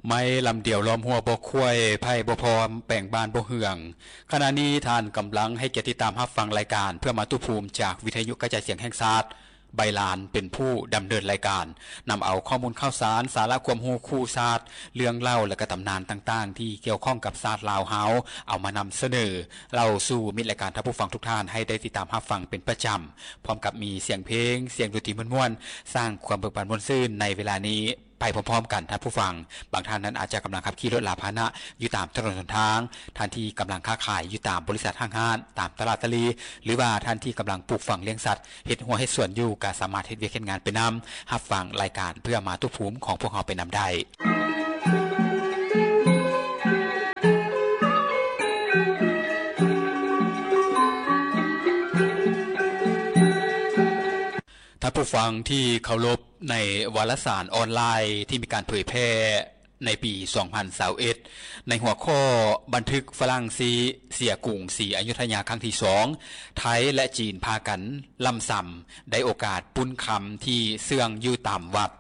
ໄມ້ລຳດຽວລ້ອມຫົວບໍ່ຄວາຍ ໄຜ່ບໍ່ພ້ອມແປງບ້ານບໍ່ເຮືອງ. ຂະນະນີ້ທ່ານກຳລັງໃຫ້ກຽດຕິດຕາມຮັບຟັງລາຍການເພື່ອມາຕຸພູມ ຈາກວິທະຍຸກະຈາຍສຽງແຫ່ງຊາດ ໃບລານເປັນຜູ້ດຳເນີນລາຍການ, ນຳເອົາຂໍ້ມູນຂ່າວສານ, ສາລະຄວາມຮູ້ຄູ່ຊາດ, ເລື່ອງເລົ່າ ແລະ ກະຕຳນານຕ່າງໆ ທີ່ກ່ຽວຂ້ອງກັບຊາດລາວເຮົາ ເອົາມານຳສະເໜີເລົ່າສູ່ມິດລາຍການທ່ານຜູ້ຟັງທຸກທ່ານໃຫ້ໄດ້ຕິດຕາມຮັບຟັງເປັນປະຈຳ, ພ້ອມກັບມີສຽງເພງ, ສຽງດົນຕີມ່ວນໆ, ສ້າງຄວາມເບີກບານມ່ວນຊື່ນໃນເວລານີ້ ໄປພ້ອມໆກັນທ່ານຜູ້ຟັງ. ບາງທ່ານນັ້ນອາດຈະກຳລັງຂັບຂີ່ລົດລາພາຫະນະຢູ່ຕາມຖະໜົນຫົນທາງ, ທ່ານທີ່ກຳລັງຄ້າຂາຍຢູ່ຕາມບໍລິສັດຫ້າງຮ້ານ, ຕາມຕະຫຼາດຕະຫຼີ່ ຫຼືວ່າທ່ານທີ່ກຳລັງປູກຝັງລ້ຽງສັດ, ເຮັດຮົ້ວເຮັດສວນຢູ່ ກໍສາມາດເຮັດວຽກເຮັດງານໄປນຳ, ຮັບຟັງລາຍການເພື່ອມາຕຸພູມຂອງພວກເຮົາໄປນຳໄດ້. ທ່ານຜູ້ຟັງທີ່ເຄົາລົບ, ໃນວາລະສານອອນລາຍທີ່ມີການເຜີຍແຜ່ໃນປີສອງພັນຊາວເອັດ ໃນຫົວຂໍ້ບັນທຶກຝຣັ່ງຊີເສຍກຸງສີອະຍຸດທະຍາຄັ້ງທີສອງ ໄທ ແລະ ຈີນພາກັນລ້ຳຊຳ ໄດ້ໂອກາດປຸ້ນຄຳທີ່ເຊື່ອງຢູ່ຕາມວັດ.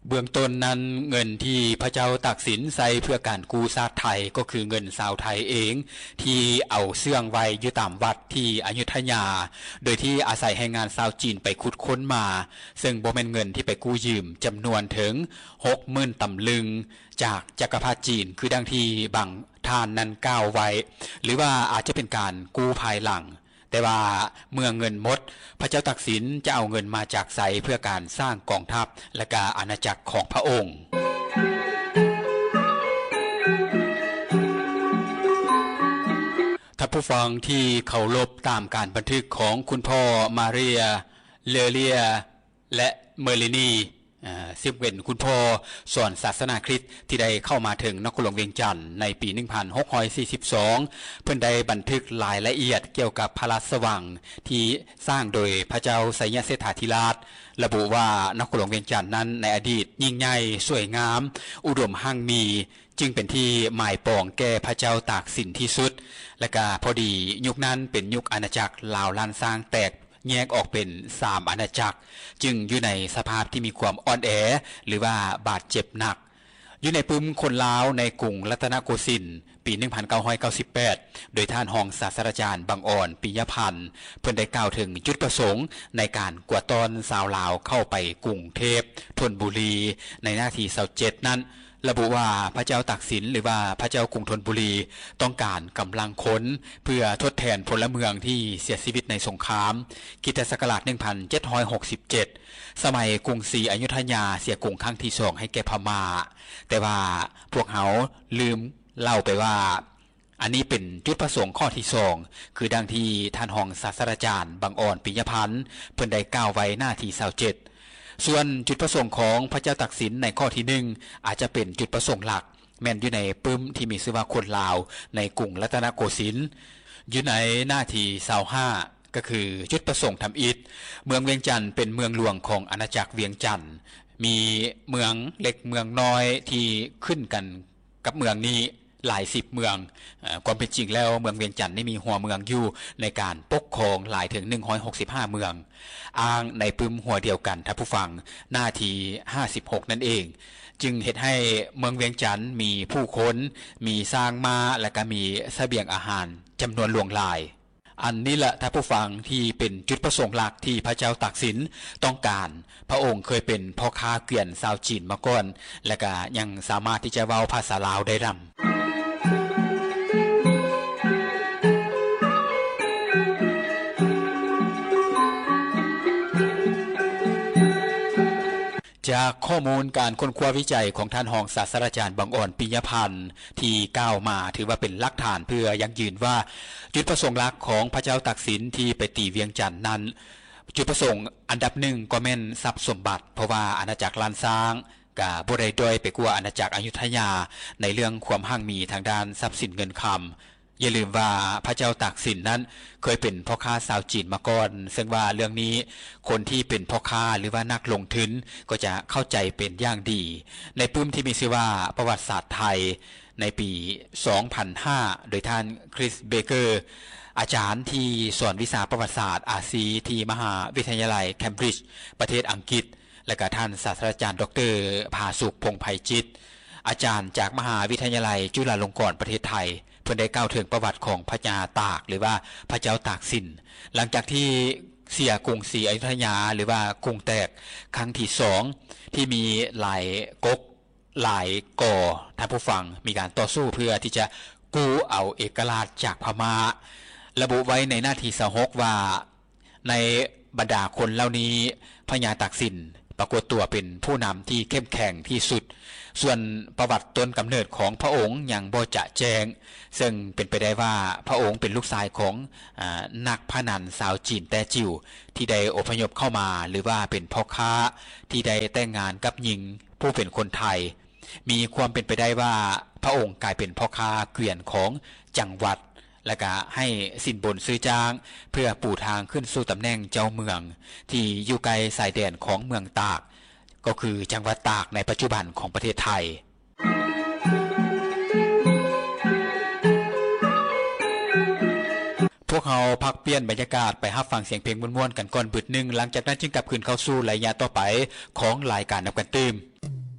ເບື້ອງຕົ້ນນັ້ນ, ເງິນທີ່ພະເຈົ້າຕາກສິນໃຊ້ເພື່ອການກູ້ຊາດໄທ ກໍຄືເງິນຊາວໄທເອງ ທີ່ເອົາເຊື່ອງໄວ້ຢູ່ຕາມວັດທີ່ອະຍຸດທະຍາ, ໂດຍທີ່ອາໄສແຮງງານຊາວຈີນໄປຂຸດຄົ້ນມາ, ເຊິ່ງບໍ່ແມ່ນເງິນທີ່ໄປກູ້ຢືມ, ຈຳນວນເຖິງຫົກໝື່ນຕຳລຶງຈາກຈັກກະພັດຈີນ, ຄືດັ່ງທີ່ບາງທ່ານນັ້ນກ່າວໄວ້, ຫຼືວ່າອາດຈະເປັນການກູ້ພາຍຫຼັງ. ແຕ່ວ່າເມື່ອເງິນໝົດ, ພະເຈົ້າຕາກສິນຈະເອົາເງິນມາຈາກໃສເພື່ອການສ້າງກອງທັບ ແລະ ກະອານາຈັກຂອງພະອົງ? ທ່ານຜູ້ຟັງທີ່ເຄົາລົບ, ຕາມການບັນທຶກຂອງຄຸນພໍ່ມາເຣຍ ເລເລຍ ແລະ ເມີລີນີ ເຊິ່ງເປັນຄຸນພໍ່ສອນສາສະໜາຄຣິດທີ່ໄດ້ເຂົ້າມາເຖິງນະຄອນຫຼວງວຽງຈັນໃນປີໜຶ່ງພັນຫົກຮ້ອຍສີ່ສິບສອງ, ເພິ່ນໄດ້ບັນທຶກລາຍລະອຽດກ່ຽວກັບພະລາຊະວັງທີ່ສ້າງໂດຍພະເຈົ້າໄຊຍະເສດຖາທິລາດ, ລະບຸວ່ານະຄອນຫຼວງວຽງຈັນນັ້ນໃນອະດີດຍິ່ງໃຫຍ່, ສວຍງາມ, ອຸດົມຮັ່ງມີ, ຈຶ່ງເປັນທີ່ໝາຍປອງແກ່ພະເຈົ້າຕາກສິນທີ່ສຸດ. ແລະກະພໍດີຍຸກນັ້ນເປັນຍຸກອານາຈັກລາວລ້ານຊ້າງແຕກ ແຍກອອກເປັນສາມອານາຈັກ, ຈຶ່ງຢູ່ໃນສະພາບທີ່ມີຄວາມອ່ອນແອ ຫຼືວ່າບາດເຈັບໜັກ. ຢູ່ໃນປຶ້ມຄົນລາວໃນກຸງລັດຕະນະໂກສິນ ປີໜຶ່ງພັນເກົ້າຮ້ອຍເກົ້າສິບແປດ ໂດຍທ່ານຮອງສາດສະດາຈານ ບັງອອນ ປິຍະພັນ ເພິ່ນໄດ້ກ່າວເຖິງຈຸດປະສົງໃນການກວາດຕ້ອນຊາວລາວເຂົ້າໄປກຸງເທບ ທົນບູລີ ໃນໜ້າທີຊາວເຈັດນັ້ນ ລະບຸວ່າພະເຈົ້າຕາກສິນ ຫຼືວ່າພະເຈົ້າກຸງທົນບູລີ ຕ້ອງການກຳລັງຄົນເພື່ອທົດແທນພົນລະເມືອງທີ່ເສຍຊີວິດໃນສົງຄາມ ຄຣິສຕະສັກກະລາດໜຶ່ງພັນເຈັດຮ້ອຍຫົກສິບເຈັດ ສະໄໝກຸງສີອະຍຸດທະຍາເສຍກຸງຄັ້ງທີສອງໃຫ້ແກ່ພະມ້າ. ແຕ່ວ່າພວກເຮົາລືມເລົ່າໄປວ່າ ອັນນີ້ເປັນຈຸດປະສົງຂໍ້ທີສອງ ຄືດັ່ງທີ່ທ່ານຮອງສາດສະດາຈານ ບັງອອນ ປິຍະພັນ ເພິ່ນໄດ້ກ່າວໄວ້ໜ້າທີຊາວເຈັດ. ສ່ວນຈຸດປະສົງຂອງພະເຈົ້າຕາກສິນໃນຂໍ້ທີໜຶ່ງ ອາດຈະເປັນຈຸດປະສົງຫຼັກ ແມ່ນຢູ່ໃນປຶ້ມທີ່ມີຊື່ວ່າຄົນລາວໃນກຸງລັດຕະນະໂກສິນ. ຢູ່ໃນໜ້າທີຊາວຫ້າ ກໍຄືຈຸດປະສົງທຳອິດ ເມືອງວຽງຈັນເປັນເມືອງຫຼວງຂອງອານາຈັກວຽງຈັນ, ມີເມືອງເລັກເມືອງນ້ອຍທີ່ຂຶ້ນກັນກັບເມືອງນີ້ ຫຼາຍສິບເມືອງ. ເອີ ຄວາມເປັນຈິງແລ້ວ ເມືອງວຽງຈັນນີ້ມີຫົວເມືອງຢູ່ໃນການປົກຄອງຫຼາຍເຖິງໜຶ່ງຮ້ອຍຫົກສິບຫ້າເມືອງ, ອ້າງໃນປຶ້ມຫົວດຽວກັນ ທ່ານຜູ້ຟັງ, ໜ້າທີຫ້າສິບຫົກນັ້ນເອງ, ຈຶ່ງເຮັດໃຫ້ເມືອງວຽງຈັນມີຜູ້ຄົນ, ມີຊ້າງມ້າ ແລະ ກະມີສະບຽງອາຫານຈຳນວນຫຼວງຫຼາຍ. ອັນນີ້ແຫຼະ ທ່ານຜູ້ຟັງ, ທີ່ເປັນຈຸດປະສົງຫຼັກທີ່ພະເຈົ້າຕາກສິນຕ້ອງການ. ພະອົງເຄີຍເປັນພໍ່ຄ້າເກວຽນຊາວຈີນມາກ່ອນ ແລະ ກະຍັງສາມາດທີ່ຈະເວົ້າພາສາລາວໄດ້ນຳ. ຈາກຂໍ້ມູນການຄົ້ນຄວ້າວິໄຈຂອງທ່ານຮອງສາດສະດາຈານ ບັງອອນ ປິຍະພັນ ທີ່ກ່າວມາ ຖືວ່າເປັນຫຼັກຖານເພື່ອຢັ້ງຢືນວ່າ ຈຸດປະສົງຫຼັກຂອງພະເຈົ້າຕາກສິນທີ່ໄປຕີວຽງຈັນນັ້ນ ຈຸດປະສົງອັນດັບໜຶ່ງກໍແມ່ນຊັບສົມບັດ, ເພາະວ່າອານາຈັກລ້ານຊ້າງກະບໍ່ໄດ້ດ້ອຍໄປກວ່າອານາຈັກອະຍຸດທະຍາໃນເລື່ອງຄວາມຮັ່ງມີທາງດ້ານຊັບສິນເງິນຄຳ. ຢ່າລືມວ່າພະເຈົ້າຕາກສິນນັ້ນເຄີຍເປັນພໍ່ຄ້າຊາວຈີນມາກ່ອນ, ເຊິ່ງວ່າເລື່ອງນີ້ຄົນທີ່ເປັນພໍ່ຄ້າ ຫຼືວ່ານັກລົງທຶນກໍຈະເຂົ້າໃຈເປັນຢ່າງດີ. ໃນປຶ້ມທີ່ມີຊື່ວ່າປະຫວັດສາດໄທ ໃນປີສອງພັນຫ້າ ໂດຍທ່ານ Chris Baker ອາຈານທີ່ສອນວິຊາປະຫວັດສາດອາຊີທີ່ມະຫາວິທະຍາໄລ Cambridge ປະເທດອັງກິດ ແລະກະທ່ານສາດສະດາຈານ ດຣ ຜາສຸກ ພົງໄພຈິດ ອາຈານຈາກມະຫາວິທະຍາໄລຈຸລາລົງກອນປະເທດໄທ ເພິ່ນໄດ້ກ່າວເຖິງປະຫວັດຂອງພະຍາຕາກ ຫຼືວ່າພະເຈົ້າຕາກສິນ ຫຼັງຈາກທີ່ເສຍກຸງສຣີອະຍຸທຍາ ຫຼືວ່າກຸງແຕກຄັ້ງທີສອງ ທີ່ມີຫຼາຍກົກ ຫຼາຍກໍ ທ່ານຜູ້ຟັງ ມີການຕໍ່ສູ້ເພື່ອທີ່ຈະກູ້ເອົາເອກະລາດຈາກພະມ້າ. ລະບຸໄວ້ໃນໜ້າທີຊາວຫົກວ່າ ໃນບັນດາຄົນເຫຼົ່ານີ້ ພະຍາຕາກສິນປາກົດຕົວເປັນຜູ້ນຳທີ່ເຂັ້ມແຂງທີ່ສຸດ. ສ່ວນປະຫວັດຕົ້ນກຳເນີດຂອງພະອົງຍັງບໍ່ຈະແຈ້ງ, ເຊິ່ງເປັນໄປໄດ້ວ່າພະອົງເປັນລູກຊາຍຂອງ ອາ ນັກພະນັນຊາວຈີນແຕ້ຈິ້ວ ທີ່ໄດ້ອົບພະຍົບເຂົ້າມາ ຫຼືວ່າເປັນພໍ່ຄ້າທີ່ໄດ້ແຕ່ງງານກັບຍິງຜູ້ເປັນຄົນໄທ. ມີຄວາມເປັນໄປໄດ້ວ່າພະອົງກາຍເປັນພໍ່ຄ້າກວຽນຂອງຈັງຫວັດ ແລະກະໃຫ້ສິນບົນຊື້ຈ້າງ ເພື່ອປູທາງຂຶ້ນສູ່ຕຳແໜ່ງເຈົ້າເມືອງ ທີ່ຢູ່ໃກ້ຊາຍແດນຂອງເມືອງຕາກ ກໍຄືຈັງຫວັດຕາກໃນປັດຈຸບັນຂອງປະເທດໄທ. ພວກເຮົາພັກປ່ຽນບັນຍາກາດໄປຮັບຟັງສຽງເພງມ່ວນໆກັນກ່ອນບຶດໜຶ່ງ, ຫຼັງຈາກນັ້ນຈຶ່ງກັບຄືນເຂົ້າສູ່ໄລຍະຕໍ່ໄປຂອງລາຍການນຳກັນຕື່ມ.